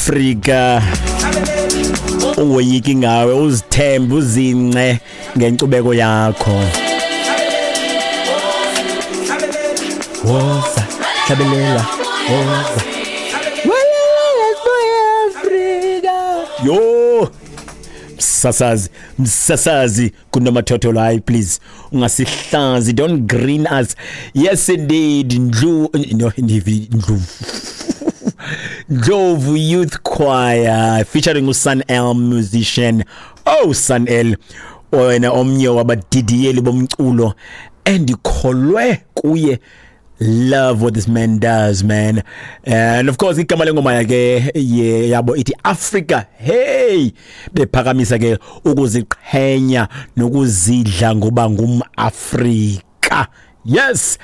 Afrika, ungoyiki ngawe, uzithembe, uzince ngenkcubeko yakho. Woza, hlabelela, woza. Yo, msasazi, msasazi kunomathotholo, hayi please ungasihlazi, don't green us. Yes indeed, ndlu no ndlu Ndlovu Youth Choir featuring uSun L musician. Oh Sun L, wena omnye wabadidiyeli bomculo endikholwe kuye. Love what this man does, man. And of course igama lengoma yakhe yabo ithi Africa. Hey, bephakamisa ke ukuziqhenya nokuzidla ngoba ngumAfrika. Yes,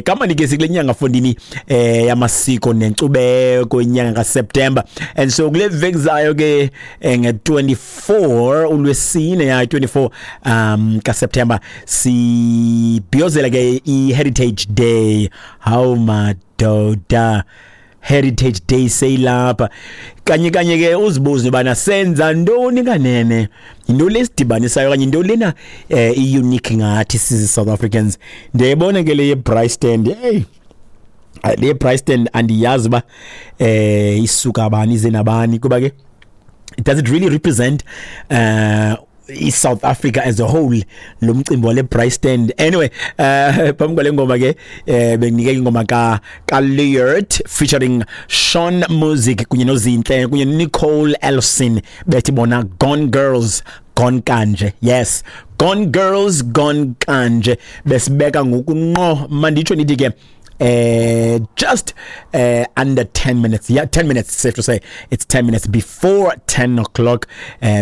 kama ke sikule nyanga fondini yamasiko nenkcubeko, inyanga kaSeptember. And so kule veki zayo ke nge-24 ulwesine ya 24 kaSeptember sibhiyozela ke i-Heritage Day. How madoda, Heritage Day seyilapha kanye kanye ke. Uzibuze bana senza ntoni kanene, yinto lesidibanisayo kanye into lena i-unique ngathi sizi South Africans. Ndiyayibona ke le ye-braai stand. Hey, le braai stand andiyazi uba isuka bani, ize nabani, kuba ke does it really represent i-South Africa as a whole, lo mcimbi wale braai stand? Anyway, phambi kwale ngoma ke benginike ingoma ka Leert featuring Sean Music kunye noZinhle kunye Nicole Ellison, bethi bona Gone Girls Gone Kanje. Yes, Gone Girls Gone Kanje. Besibeka ngokunqo manditsho nithi ke just under 10 minutes, yeah, 10 minutes, safe to say it's 10 minutes before 10 o'clock,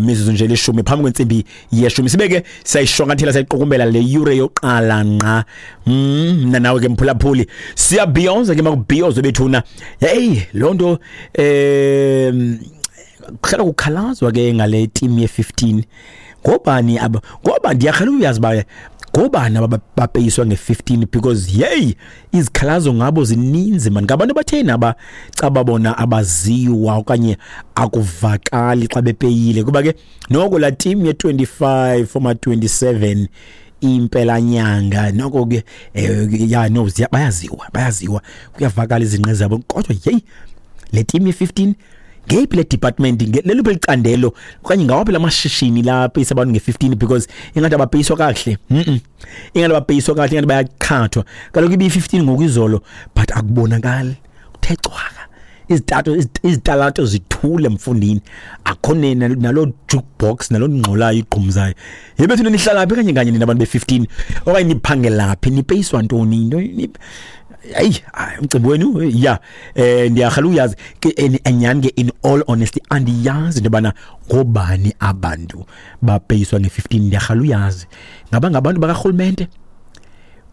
mizuzu nje leshumi phambi kwentsimbi yeshumi. Sibeke sayishwankathela, sayiqukumbela le yure yoqala nqa. Mna nawe ke mphulaphuli siyabhiyoza ke, makubhiyozo bethuna. Hey, loo nto kuhlala kukhalazwa ke ngale team ye-15, ngobani aba? Ngoba ndiyakhala uyazi ba ngobani abapeyiswa nge-15, because hey, izikhalazo ngabo zininzi man. Ngabantu abatheni aba caba bona abaziwa okanye akuvakali xa bepeyile? Kuba ke noko la team ye-25 foma 27 impela nyanga noko ke ya no bayaziwa, bayaziwa, kuyavakala izinqe zabo. Kodwa hey, le team ye-15 ngeyiphi le department, leliphi licandelo okanye ngawaphi lamashishini lapeyisa abantu nge-15? Because ingathi abapeyiswa kakuhle, ingathi abapeyiswa kakuhle, ingathi bayaqhathwa. Kaloku ibiyi-15 ngoku izolo, but akubonakali, kuthe cwaka, izitato izitalato zithule mfundini, akho nalo jukebox nalo ngxolayo igqumzayo. Yebethu, nihlala phi kanye kanye nina abantu be-15, okanye niphangelaphi, nipeyiswa ntoni? Into hayi, umcimbi wenu ya ndiyarhala uyazi ke enyani ke. In all honesty, andiyazi into yobana ngobani abantu bapeyiswa nge-15. Ndiyarhala uyazi ngaba ngabantu bakarhulumente,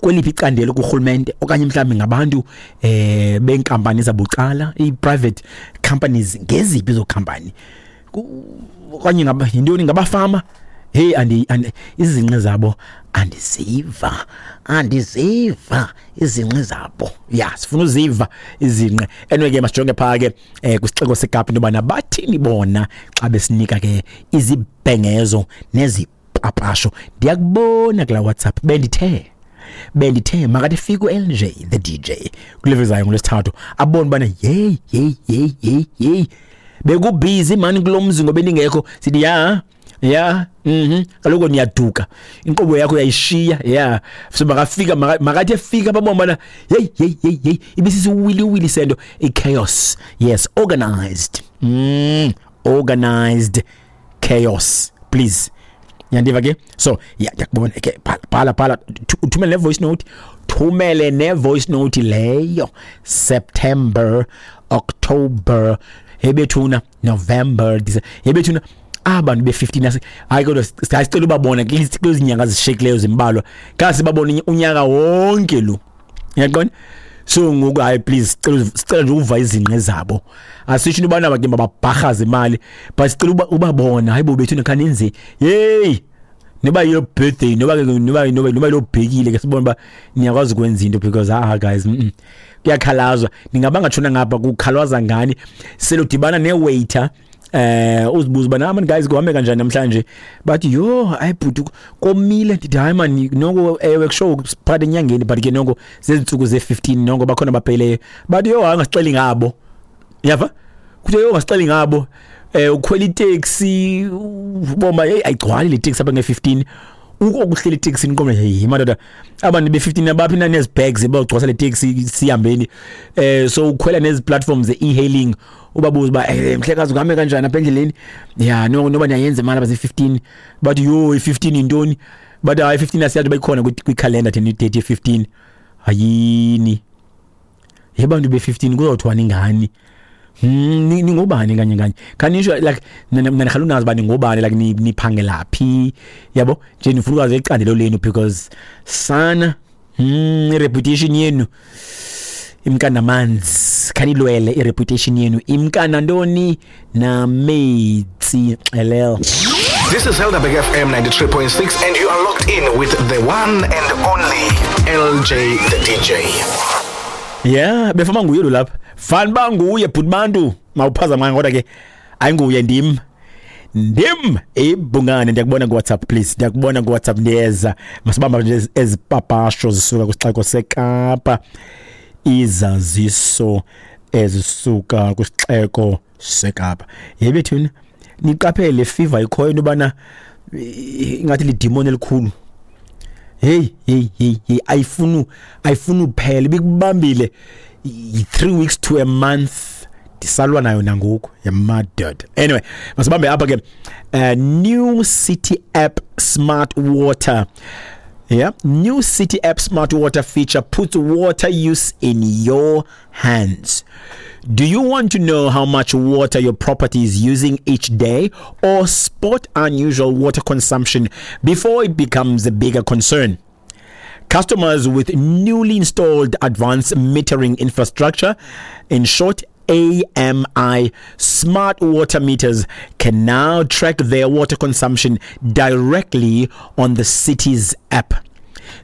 kweliphi icandelo kurhulumente, okanye mhlawumbi ngabantu benkampani zabucala, i-private companies, ngeziphi ezo company, okanye ngaba yintoni, ngabafama? Hey, andi izinqe zabo andiziva, andiziva izinqe zabo. Ya, sifuna uziva izinqe. Anyway ke masijonge phaa ke kwisixeko seKapa into yobana bathini bona xa besinika ke izibhengezo nezipapasho. Ndiyakubona kula WhatsApp, bendithe makathi fike u-LJ the DJ kule vezayo ngolwesithathu, abone ubana yeyi yeyi yeyi yeyi yeyi, bekubhizi mani kulo mzi ngoba endingekho. Sithi ya ya, kaloku niyaduka, inkqubo yakho uyayishiya ya. So makafika, makathi efika babona bana hey hey hey hey, ibisisiwiliwili sento, i-chaos. Yes, organized, organized chaos, please. Yandiva ke? So ya, ndiyakubona ke, bhala bhala, uthumele ne-voice note, thumele ne-voice note leyo. September, October, hebethuna, November, December, hebethuna, abantu be-15 hayi kodwa sicela ubabona kwezi nyanga zishiyekileyo zimbalwa, kasi babone unyaka wonke lo, uyaqonda? So ngoku hayi please, sicela nje uva izinqe zabo. Asisho into yobana ke mababharhaze imali, but sicela ubabona. Hayi bo bethu, nikhanenze, yeyi. Noba your birthday, noba lo bhekile ke sibone ba niyakwazi ukwenza into, because ah guys, kuyakhalazwa. Ningabanga tshona ngapha kukhalwaza ngani. Seludibana ne-waiter, uzibuza uba nah man guys, kuhambe kanjani namhlanje? Bathi yho, hayi bhuti, komile. Ndithi hayi man, noko ewe kusho phakathi enyangeni, but ke noko zezintsuku ze-15, noko bakhona bapheleyo. Bathi yho, hayi ungasixeli ngabo. Yava kuthiwa yho, ungasixeli ngabo. Ukhwela iteksi, ubomba hey, ayigcwali le taxi apha nge-15. Uko kuhlela iteksi niqombe, hey madoda, abantu be-15 abaphi na nezi bags bawugcwasa le taxi sihambeni? So ukhwela nezi platforms ze-e-hailing, ubabuza uba mhlekazi, kuhambe kanjani apha endleleni? Ya no, noba niyayenza imali abazi-15. Bathi yho, i-15 yintoni? Bathi hayi, i-15 asiyazi bayikhona kwikhalenda thina idate ye-15. Hayini yebantu be-15, kuzawuthiwani ngani? Ningobani kanye kanye? Khanisho like mina ndikhala unazi uba ningobani, like niphangela phi, yabo nje ndifuna ukwazi icandelo lenu, because sana, i-reputation yenu imka namanzi. Khanilwele i-reputation yenu, imka nantoni? Nametsi xelel. This is Helderberg FM 93.6 and you are locked in with the one and only LJ the DJ. Yeah, befama nguye lo lapha. Fani ba nguye bhuti bantu, mawuphazama, kodwa ke ayinguye, ndim. Ndim ibhungane. Ndiyakubona ku WhatsApp, please. Ndiyakubona ku WhatsApp, ndiyeza. Masibamba nje ezipapasho zisuka kwisixeko seKapa. Izaziso ezisuka kwisixeko seKapa. Yebethuna, niqaphele fever ikhoyo into bana ingathi lidimoni elikhulu. Hey hey hey hey, ayifuni uphela, ibikubambile 3 weeks to a month, ndisalwa nayo nangoku, yamadoda. Anyway, masibambe apha ke. New City app smart water. Yeah, new City app smart water feature puts water use in your hands. Do you want to know how much water your property is using each day, or spot unusual water consumption before it becomes a bigger concern? Customers with newly installed advanced metering infrastructure, in short AMI smart water meters, can now track their water consumption directly on the city's app.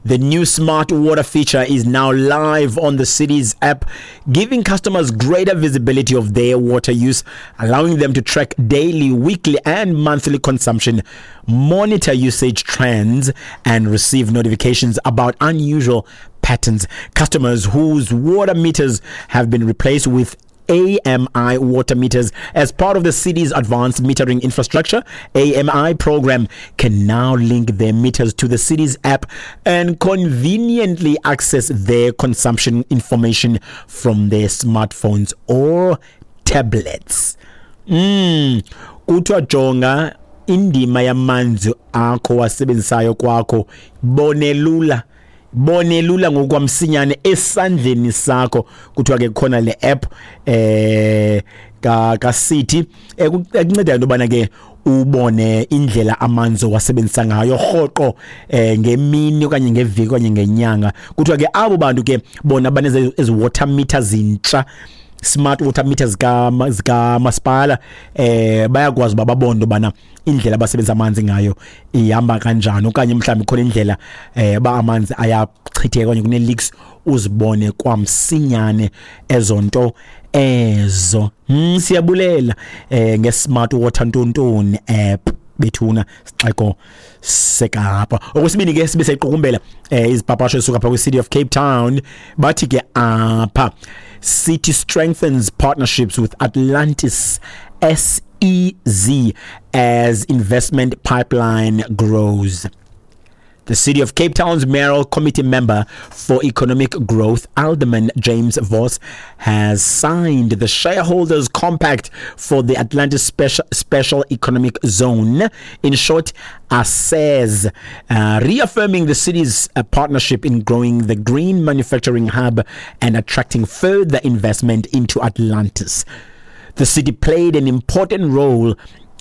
The new smart water feature is now live on the city's app, giving customers greater visibility of their water use, allowing them to track daily, weekly, and monthly consumption, monitor usage trends, and receive notifications about unusual patterns. Customers whose water meters have been replaced with AMI water meters as part of the city's advanced metering infrastructure AMI program can now link their meters to the city's app and conveniently access their consumption information from their smartphones or tablets. Kuthiwa jonga indima yamanzi akho wasebenzisayo kwakho, bonelula, bonelula ngokwamsinyane esandleni sakho. Kuthiwa ke khona le app ka city ekunceda into bana ke ubone indlela amanzi wasebenzisa ngayo rhoqo, ngemini okanye ngeviki okanye ngenyanga. Kuthiwa ke abo bantu ke bona baneze ezi water meters zintsha, smart water meters zika masipala, bayakwazi uba babone bana indlela abasebenzisa amanzi ngayo ihamba kanjani, okanye mhlawumbi khona indlela ba amanzi ayachitheka okanye kune leaks, uzibone kwamsinyane ezonto ezo. Siyabulela nge-smart water ntontoni app bethuna, sixeko seKapa. Okwesibini ke sibe seyiqukumbela izipapasho ezisuka pha kwi-City of Cape Town. Bathi ke apha, City strengthens partnerships with Atlantis SEZ as investment pipeline grows. The City of Cape Town's Mayoral Committee member for Economic Growth, Alderman James Vos, has signed the Shareholders Compact for the Atlantis Special Economic Zone, in short, ASEZ, reaffirming the city's partnership in growing the green manufacturing hub and attracting further investment into Atlantis. The city played an important role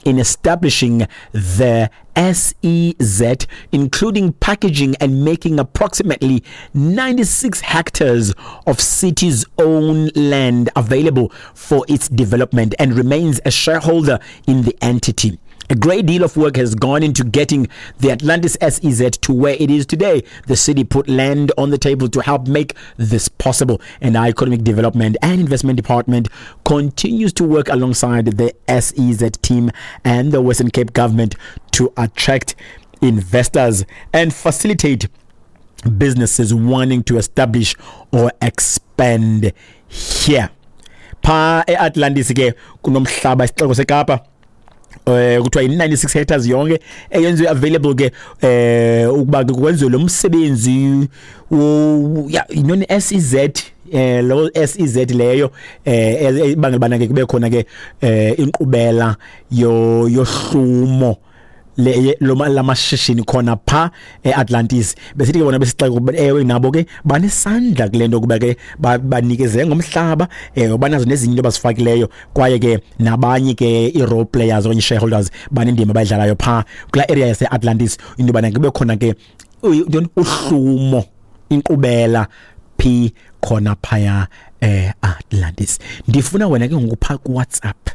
in establishing the SEZ, including packaging and making approximately 96 hectares of city's own land available for its development, and remains a shareholder in the entity. A great deal of work has gone into getting the Atlantis SEZ to where it is today. The city put land on the table to help make this possible, and our Economic Development and Investment Department continues to work alongside the SEZ team and the Western Cape government to attract investors and facilitate businesses wanting to establish or expand here. Pha eAtlantis ke kunomhlaba, isixeko seKapa, kuthiwa yi-96 hectares yonke eyenziwe available ke ukuba ke kwenziwe lo msebenzi ya yintoni, SEZ, lo SEZ leyo ibangela bana ke kube khona ke inkqubela yohlumo lamashishini khona pha eAtlantis. Besithi ke bona besixeko, ewe, nabo ke banesandla kule nto kuba ke banikeze ngomhlaba, banazo nezinye into abazifakileyo, kwaye ke nabanye ke i-role players okanye shareholders banendima abayidlalayo pha kulaa area yase-Atlantis, into yobana kube khona ke ntoni, uhlumo, inkqubela phi khona phaya eAtlantis. Ndifuna wena ke ngoku pha kuWhatsApp,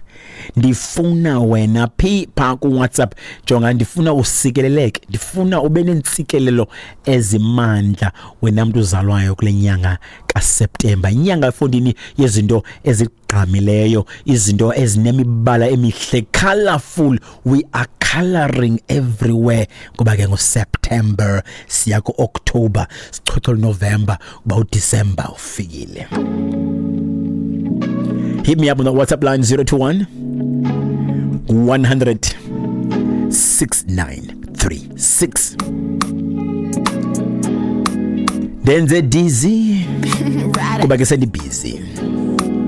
ndifuna wena phi pha kuWhatsApp, jonga, ndifuna usikeleleke, ndifuna ube nentsikelelo ezimandla wena mntu uzalwayo kule nyanga kaSeptemba, inyanga efondini yezinto ezigqamileyo, izinto ezinemibala emihle, colorful. We are coloring everywhere kuba ke ngoSeptember siya ku-October, sichochole November kuba uDecember ufikile. Hit me up on the WhatsApp line, 021 100 6936. Ndenze dizzy kuba ke sendibhizi.